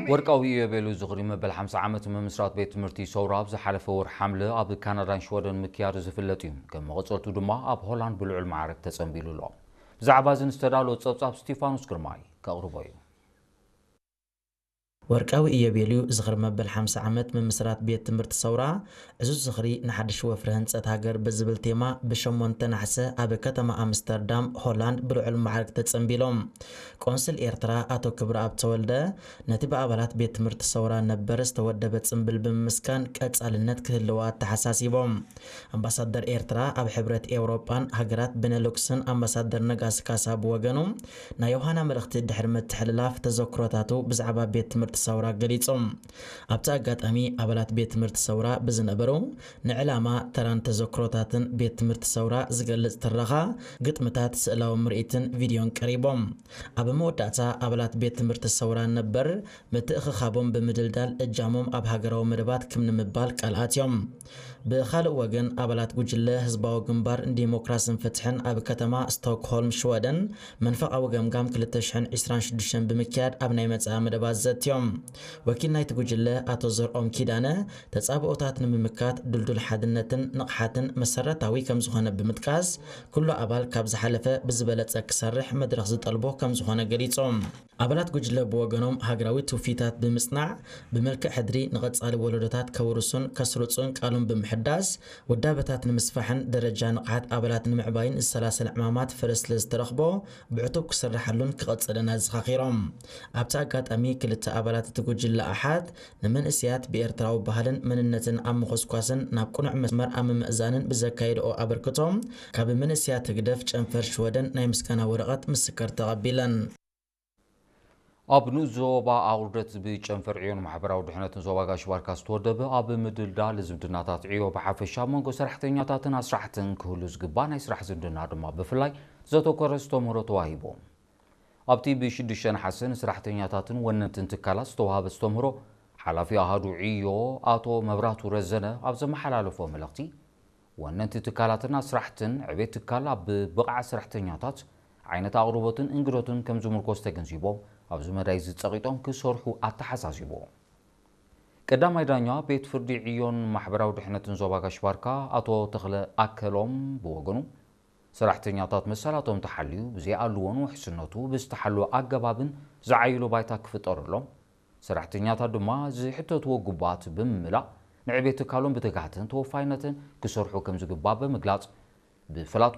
ወርቃዊ ኢዮቤልዩ ዝኽሪ መበል ሓምሳ ዓመት ምምስራት ቤት ትምህርቲ ሰውራ ኣብ ዝሓለፈ ወር ሓምለ ኣብ ካናዳን ሽወደን ምክያዱ ዝፍለጥ እዩ። ከም መቐጸልቱ ድማ ኣብ ሆላንድ ብልዑል ማዕረግ ተጸንቢሉ ኣሎ። ብዛዕባ እዚ ዝተዳለወ ጸብጻብ ስቲፋኖስ ግርማይ ከቕርቦ እዩ። ወርቃዊ ኢዮቤልዩ ዝኽሪ መበል ሓምሳ ዓመት ምምስራት ቤት ትምህርቲ ሰውራ ዕዙዝ ዝኽሪ ንሓድሽ ወፍሪ ህንጸት ሃገር ብዝብል ቴማ ብሸሞንተ ናሕሰ ኣብ ከተማ ኣምስተርዳም ሆላንድ ብልዑል ማዕረግ ተጸንቢሎም። ቆንስል ኤርትራ ኣቶ ክብረኣብ ተወልደ ነቲ ብኣባላት ቤት ትምህርቲ ሰውራ ነበር ዝተወደበ ጽምብል ብምምስጋን ቀጻልነት ክህልዎ ኣተሓሳሲቦም። ኣምባሳደር ኤርትራ ኣብ ሕብረት ኤውሮጳን ሃገራት ቤነሉክስን ኣምባሳደር ነጋሲ ካሳ ብወገኑ ናይ ዮሃና መልእኽቲ ድሕሪ ምትሕልላፍ ተዘክሮታቱ ብዛዕባ ቤት ትምህርቲ ሰውራ ገሊጹ። ኣብቲ ኣጋጣሚ ኣባላት ቤት ትምህርቲ ሰውራ ብዝነበሩ ንዕላማ ተራን ተዘክሮታትን ቤት ትምህርቲ ሰውራ ዝገልጽ ትረኻ፣ ግጥምታት፣ ስእላዊ ምርኢትን ቪድዮን ቀሪቦም። ኣብ መወዳእታ ኣባላት ቤት ትምህርቲ ሰውራ ነበር ምትእኽኻቦም ብምድልዳል እጃሞም ኣብ ሃገራዊ መደባት ክም ንምባል ቃል ኣትዮም። ብኻልእ ወገን ኣባላት ጉጅለ ህዝባዊ ግንባር ንዲሞክራስን ፍትሕን ኣብ ከተማ ስቶክሆልም ሽወደን መንፈቓዊ ገምጋም ክልተ ሽሕን ዕስራን ሽዱሽተን ብምክያድ ኣብ ናይ መጻኢ መደባት ዘትዮም። ወኪል ናይቲ ጉጅለ ኣቶ ዘርኦም ኪዳነ ተጻብኦታት ንምምካት ድልዱል ሓድነትን ንቕሓትን መሰረታዊ ከም ዝኾነ ብምጥቃስ ኩሉ ኣባል ካብ ዝሓለፈ ብዝበለጸ ክሰርሕ መድረኽ ዝጠልቦ ከም ዝኾነ ገሊጾም። ኣባላት ጉጅለ ብወገኖም ሃገራዊ ትውፊታት ብምጽናዕ ብመልክዕ ሕድሪ ንቐጻሊ ወለዶታት ከውርሱን ከስርጹን ቃሉን ብምሕዳስ ውዳበታት ንምስፋሕን ደረጃ ንቕሓት ኣባላት ንምዕባይን ዝሰላሰል ዕማማት ፍረ ስለ ዝተረኽቦ ብዕቱብ ክስርሓሉን ክቐጽልን ኣዘኻኺሮም። ኣብቲ ኣጋጣሚ ክልተ ኣባላት እቲ ጉጅለ ኣሓት ንመንእሰያት ብኤርትራዊ ባህልን መንነትን ኣብ ምኹስኳስን ናብ ቅኑዕ መስመር ኣብ ምምእዛንን ብዘካየድኦ ኣበርክቶም ካብ መንእሰያት ህግደፍ ጨንፈር ሽወደን ናይ ምስጋና ወረቐት ምስክር ተቐቢለን። ኣብ ንኡስ ዞባ ኣውርደት ብጨንፈር ዕዮን ማሕበራዊ ድሕነትን ዞባ ጋሽ ባርካ ዝተወደበ ኣብ ምድልዳል ዝምድናታት ዕዮ ብሓፈሻ ኣብ መንጎ ሰራሕተኛታትን ኣስራሕትን ክህሉ ዝግባእ ናይ ስራሕ ዝምድና ድማ ብፍላይ ዘተኮረ ዝተምህሮ ተዋሂቡ። ኣብቲ ብሽዱሽተ ነሓሰ ንሰራሕተኛታትን ወነንትን ትካላት ዝተዋሃበ ዝተምህሮ ሓላፊ ኣሃዱ ዕዮ ኣቶ መብራቱ ረዘነ ኣብ ዘመሓላለፎ መልእኽቲ ወነንቲ ትካላትን ኣስራሕትን ዕቤት ትካል ኣብ ብቕዓት ሰራሕተኛታት ዓይነት ኣቕርቦትን እንግዶትን ከም ዝምርኮስ ተገንዚቦም ኣብዚ መዳይ ዝጸቒጦም ክሰርሑ ኣተሓሳሲቡ። ቀዳማይ ዳኛ ቤት ፍርዲ ዕዮን ማሕበራዊ ድሕነትን ዞባ ጋሽ ባርካ ኣቶ ተኽለ ኣከሎም ብወገኑ ሰራሕተኛታት መሰላቶም ተሓልዩ ብዘይኣልዎን ውሕስነቱ ብዝተሓለወ ኣገባብን ዝዓይሉ ባይታ ክፍጠረሎም ሰራሕተኛታት ድማ ዝሕተትዎ ግቡኣት ብምምላእ ንዕቤት ትካሎም ብትግሃትን ተወፋይነትን ክሰርሑ ከም ዝግባእ ብምግላጽ ብፍላት